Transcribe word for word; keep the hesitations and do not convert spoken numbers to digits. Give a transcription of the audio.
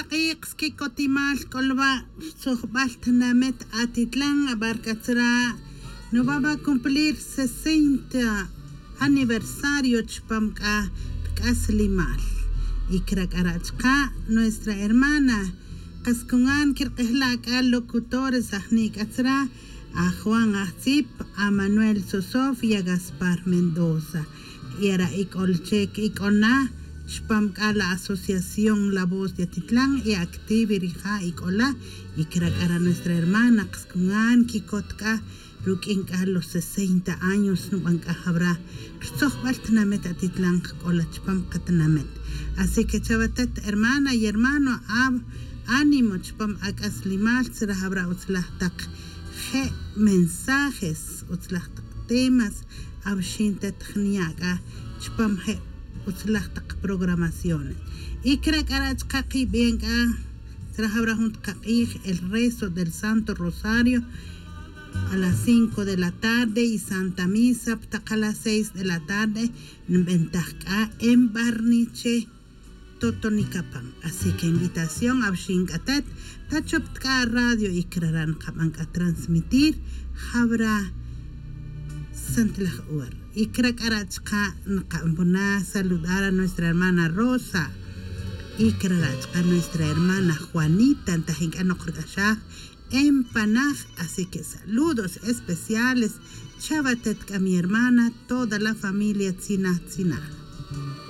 Q'iqs kicotimal c'olba' rtzojbal tnamet atitlan abarca tzra' no va va cumplir sesenta aniversario chpam c'a rc'aslimal. Y cra c'a ra' chka' nuestra hermana kas cungan quirk'ejla' c'a locutores ajni' c'a tzra' a juan ajtzip, a manuel sosof y a gaspar mendoza. Y ara' ic'ol che ic'ol na chpam c'a la asociación la voz de atitlan y activi rija' ic'ol la. Y cra c'a ra' nuestra hermana kas cungan quicot c'a ruq'uin c'a los sesenta años nuban c'a jawra rtzojbal tnamet atitlan kc'ola chpam katinamit. Así que chawatet hermana y hermano, ánimo chpam ac'aslimal tzra jawra utzlaj tak je' mensajes, utzlaj tak temas awxin tet jniya' c'a chpam je' utzlaj tak programaciones. Y cra c'a ra' chka kibien c'a tzra jawra jun tak q'ij el rezo del santo rosario a las cinco de la tarde y santa misa ptak a las seis de la tarde. Nbentaj c'a en barniche totonicapam. Así que invitación awxin c'a tet ta chop tk'a radio y cra ra' nkaban c'a transmitir jawra santlaj hora. Y cra c'a ra' chka' nkanbona saludar a nuestra hermana rosa y cra ra' chka' nuestra hermana juanita ntajin c'a nok rc'axaj en panaj. Así que saludos especiales chawatet c'a mi hermana toda la familia tzinaj tzinaj.